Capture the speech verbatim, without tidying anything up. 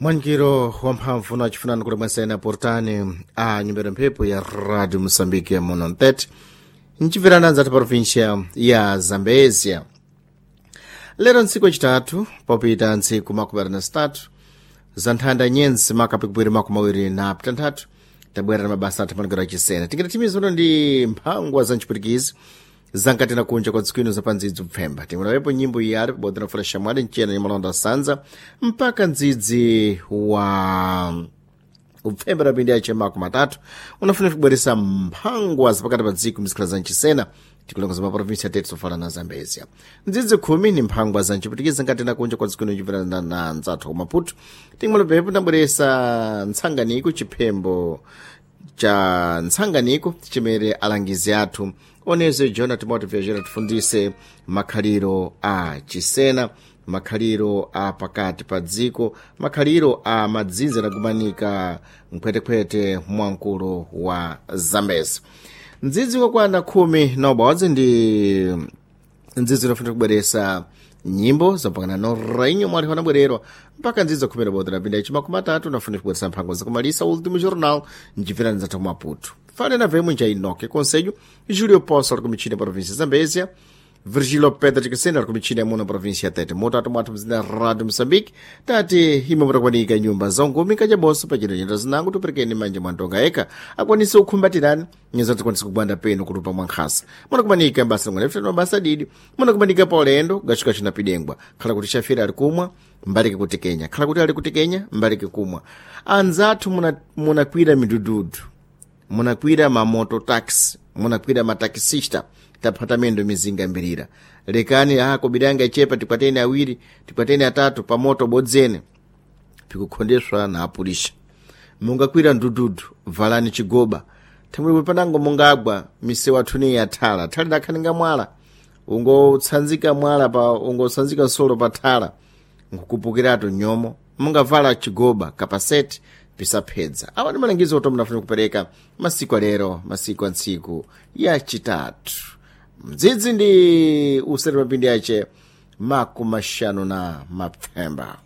Mwanikiro wamphamvu na chifunano kuti mwasena portani a nyumba ya mphepo ya Radio Moçambique muno mtete nchimverana anzathu provincia ya Zambezia. Lero ntsiku yachitatu popita ntsiku makumi awiri na zitatu za nthanda nyenzi makapikupiri makumi awiri na pitanthatu tabwera na mabasa athu manikiro achisena tingati timizono ndi mphangwa za ntchipwitikizi zankati na kunja kwa dziko ino zapandzidzi kupfemba timulawepo nyimbo iyali pabodzi na fula shamwali mchena nyamalonda sanza mpaka ndzidzi wa upfemba napindi ache makumi atatu unafuna kubweresa mphangwa zapakati pa dziko mizikhala za mchisena tikulongoza maprovinsi atete sofala na Zambezia. Ndzidzi khumi ni mphangwa za ntchipwitikizi ngati na kunja kwa dziko ino chimverana na nzathu ku Maputo. Timulapepo ndabweresa ntsanganiko chiphembo cha ntsanganiko chimene alangizi athu oneze Jona Timothy Vyajera tifundise makhaliro a chisena, makhaliro a pakati pa dziko, makhaliro a madzinza adagumanika mkhwetekhwete mwamkulu wa Zambezi. Ndzidzi wakwana khumi na ubodzi ndi ndzidzi inofuna kubweresa nyimbo zapakana no rainho mwali wanabwererwa mpaka ndzidzi khumi na bodzi napinda ichi makumi atatu nafuna kubweresa mphango zakumalisa Último Jornal ncipirani zathu Maputo. Fale na vemo nja Inoke Conselho, Júlio Poço ali kumichina província Zambésia, Virgílio Pedro de Cristina ali kumichina muno província Tete. Mutatu mwathu mzina Rádio Moçambique, tati imwe mutakwanika nyumba za ngumi kajaboso pachino nyenda zinango tuperekeni manja mwantonga eka akwanise kukhumbatirani nyenza tikwanise kugwanda penu kulupa mwankhasa. Munakumanika mbasa ngwene fitano mabasa didi, munakumanika pa ulendo gachuka chinapidengwa, khala kuti shafira ali kumwa mbalike kuti Kenya, khala kuti ali kuti Kenya mbalike kumwa. Anzathu muna- munakwira midududu, munakwira mamoto taxi, munakwira matakisista, taphata mendo mizinga mbirira. Lekani ah kobiranga ichepa tikwateni awiri tikwateni atatu pamoto bodzene pikukhondeswa na apulisha. Mungakwira ndududu valani chigoba thangwi panango mungagwa misewu athuni yathala thali dakhaninga mwala ungotsanzika mwala pa ungotsanzika nsolo pa thala nkukupukiratu nyomo mungavala chigoba kapaseti pisaphedza. Awa ndi malangizo oto munafuna kupereka masiku alero, masiku a ntsiku yachitatu mdzidzi ndi usati mapindi ache makumi maxanu na mapfemba.